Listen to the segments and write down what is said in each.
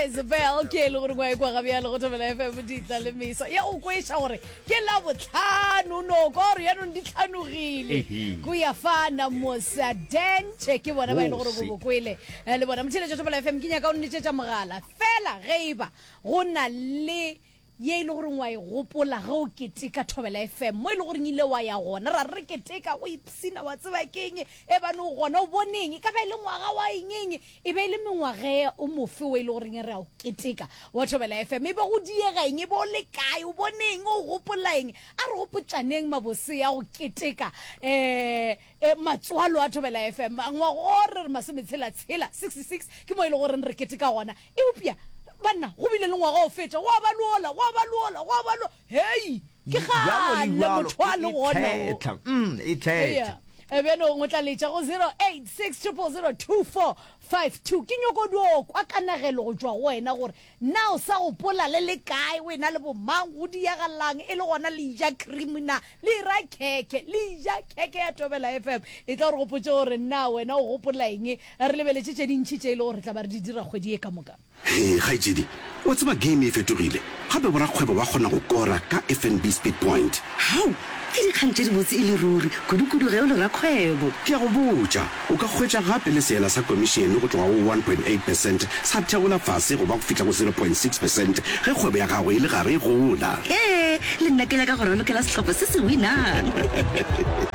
Isabel ke e le gore ngwa e kwa gabjale go thobela FM ditla le meso ya go kweša gore ke la botlhano no ka gore yanong di tlhanogile go ya fana mosa dente ke bona ba e le gore bo bokwele eh, le bona motheletša thobela FM ke nyaka o nnetšetša mogala fela ge e ba go na le ye e le goreng wa e gopola ge o keteka Thobela FM, mo e le goreng ile wa ya gona, ra re re keteka, o ipshina, wa tseba ke eng, e bane o gona, o boneng, e ka ba e le ngwaga wa eng eng, e be e le mengwaga e o mofe o e le goreng re a o keteka wa Thobela FM, e be go diega eng, e be o le kae, o boneng, o gopola eng, a re gopotšaneng mabose a go keteka um matswalo a Thobela FM, ngwaga o re re masometshela-tshela, 66, ke mo e le goreng re keteka gona. Eupša, banna, go bile le ngwaga o fetša, gwa ba le ola, gwa ba le ola, gwa ba le, hei, ke Bjalo le kgale bjalo, motho a e, le e gona wo. thetha, mm, e Eya. thetha. E bjanong o tla letša go 0860002452. Ke nyoko dio kwa kanegelo go tšwa go wena gore na o sa gopola le le kae, o ena le bomang, go diagalang e le gona le ja cream na, le ira khekhe, le ja khekhe ya Thobela FM. E tla o re gopotše gore na wena o gopola eng Re lebeletše tše dintši tše e le gore re tla ba re di dira kgwedi ye ka moka. Hee kgaetšedi, wa tseba game e fetogile, gape borakgwebo ba kgona go kora ka FNB Speed Point. Hao, ke dikgang tše dibotse e le ruri, kudu-kudu ge o le rakgwebo. Ke a go botša, o ka hwetša gape le seela sa komišene go tloga go 1.8 percent sa theola fase go ba go fihla go 0.6 percent ge kgwebo ya gago e le gare e gola. Hee, le nna ke nyaka go ralokela sehlopha se se winang.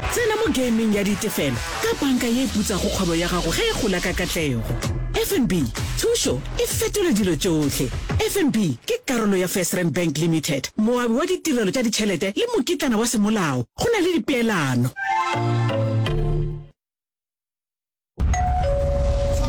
Tsena mo gameng ya ditefelo ka panka ye e putsago kgwebo ya gago ge e gola ka katlego. FNB, thušo e fetola dilo tšohle. FNB ke karolo ya FirstRand Bank Limited, moabi wa ditirelo tša ditšhelete le mokitlana wa semolao. Go na le dipeelano.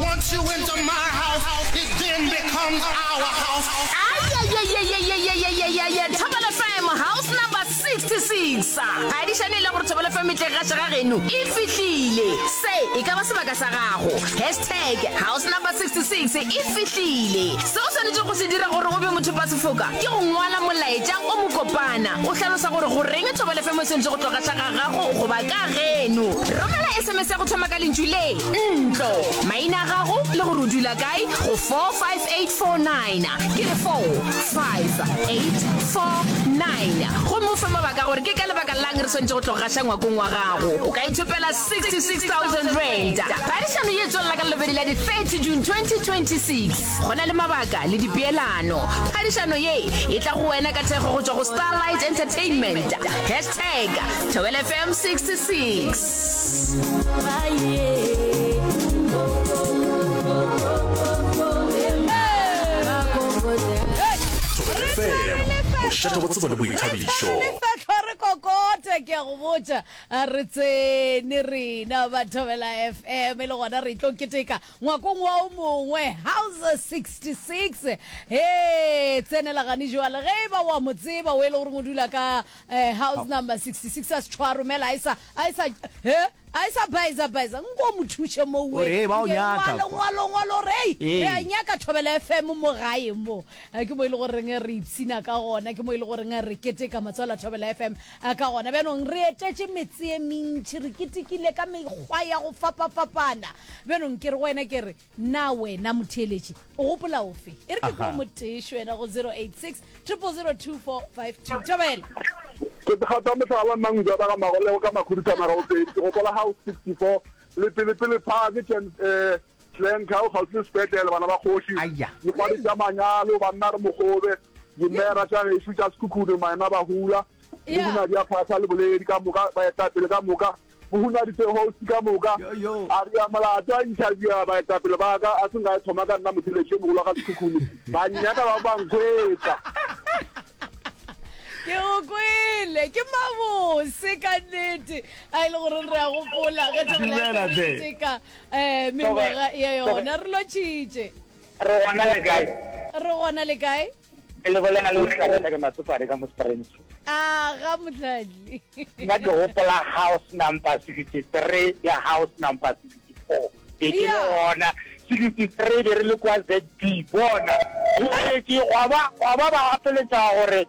Once you enter my house, it then becomes our house. Ayayayayayayayayaya Thobela FM house number 66 Phadišano e le gore Thobela FM e tle gaša ga geno e fihlile Se e ka ba sebaka sa gago Hashtag house number 66 e fihlile Se o swanetšego go se dira gore o be mothopasefoka ke go ngwala molaetša o mokopana o hlalosa gore goreng Thobela FM e swanetše go tlo gaša ga gago goba ka geno Romela SMS ya go thoma ka lentšu le, ntlo, maina a gago le gore o dula kae go 45849. Ke re 45849. Gomme o fe mabaka gore ke ka lebaka la'ng re swanetše go tlo gaša ngwakong wa gago. O ka ithopela R66,000. Phadišano ye e tswelela ka Lelobedi la di 30 June 2026. Go na le mabaka le dipeelano. Phadišano ye e tla go wena ka thekgo go tšwa go Starlight Entertainment. Hashtag Thobela FM 66. Thobela FM, mošate wa tsebo le boithabišo. Lefehlo re kokote ke a go botša re tsene rena ba Thobela FM e le gona re tlo keteka ngwakong wa o mongwe house 66 he tsenela gane jwale ge e ba wa mo tseba o e le gore o dula ka Eh, house number 66 a se tšhwa romela a e sa a e sa he a e sa baeza baeza nko mo thuše mo O re, "Hey, ba o nyaka ngwalo kwa." ngwalo ngwalo re ei Ee. re a nyaka thobela fm mo gae mo Eh, ke mo e le goreng re ipshina ka gona ke mo e le goreng re keteka matswalo a thobela fm eh, ka gona bjanong re etetše metse e mentši re ketekile ka mekgwa ya go fapafapana bjanong ke re go wena ke re Na wena motheeletši o gopola ofe? E re ke kwe motešo wena go 086 0002452. Thobela. Ke gata mohlala nna Ngujana ga Magolego ka Makhuduthamaga o pedi. Ke gopola house 64 le pele pele park Jan eh Glencoe kgauswi le sepetlele bana ba kgoši. Dikgwadi tša manyalo banna re mogobe dimera tša gešo tša Sekhukhune maema bahula le hunadi ya phahla le boledi ka moka baetapele ka moka Mohumagadi Sehosi ka moka a re a molato a interviewa baetapele ba ka a se nka e thoma ka nna motheletši yo mogolo wa ga Sekhukhune ba nnyaka ba ba nkhwetsa. Ke go kwele ke mabose ka nnete a e le gore re a gopola ge Dumela hle. teka um mengwaga ya yona re lotšhitše Re gona le kae? re gona le kae Ke le bolela le Mohlabela ke Matsopane ka mo Springs. A ga Mohlahli. Nna ke gopola house number 63 le house number 64. Be ke le gona 63 be re le kwa ZB bona. Ke gwa ba gwa ba ba gapeletša gore.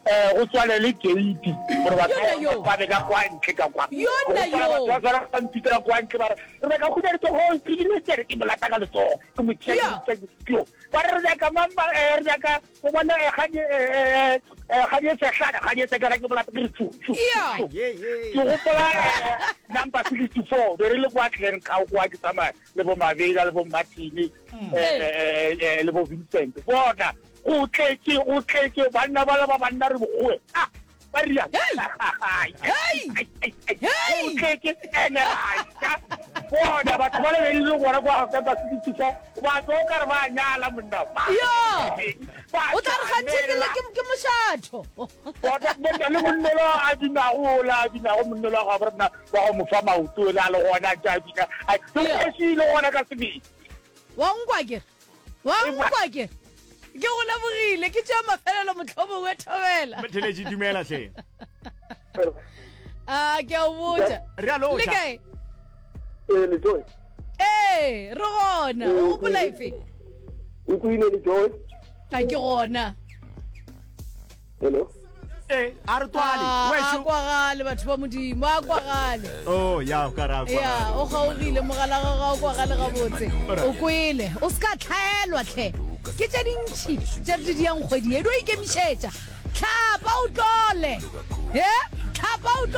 um go tswalele gate gore batho Yona yo. ba be ka kwa ntle ka kwa. Yona Ke gopola yo. batho ba tshwara ba mpitela kwa ntle ba re re nyaka go hutša letsogo ke bile ke re ke mo lata ka letsogo ke mo tšea Yeah. ke mo tšea ba re re nyaka mang ba eh, re nyaka o bona eh, kgadi eh, eh, eh, kgadi e sehlana kgadi e sekana ke mo lata ke re tsu tsu Yeah. tsu. Ke gopola eh, number 64 be re le kwa Glencoe kwa ke tsamaya le bo Mabela le bo Martin eh, eh, eh, le bo Vincent bona go tletše go tletše banna bala ba banna re bogoe ah ba ria go tletše ene ra bona batho ba le be le gona kwa ga ba 64 ba tlo ka re ba nyala monna ba yo o tla re ganthe ke le ke mošatho bona monna le monnelo a binago ola a binago monnelo wa gabo rena wa go mo fa maoto ole a le gona a ntse a bina a le gona ka sebele Wa nkwa ke? Wa nkwa ke? Ke go lebogile, ke tšea mafelelo mohlomongwe thobela. Theletše dumela hle. A ke a o botša. Re a lotšha. Le kae? Ee, le Joy. Ee, re gona. O gopola efe? O kwile le Joy? A ke gona. Hello. Eh, a re twale. Ah, Wešo. a kwagale batho ba modimo a kwagale Oh, ya o ka ra ya kwagale. o kgaogile mogala ga ga o kwagale gabotse o kwele o se ka tlhaelwa tlhe ke tše dintšhi tše re di diang kgwedi e di o ikemišetša tlhapa o tlole e tlhapa o tlole.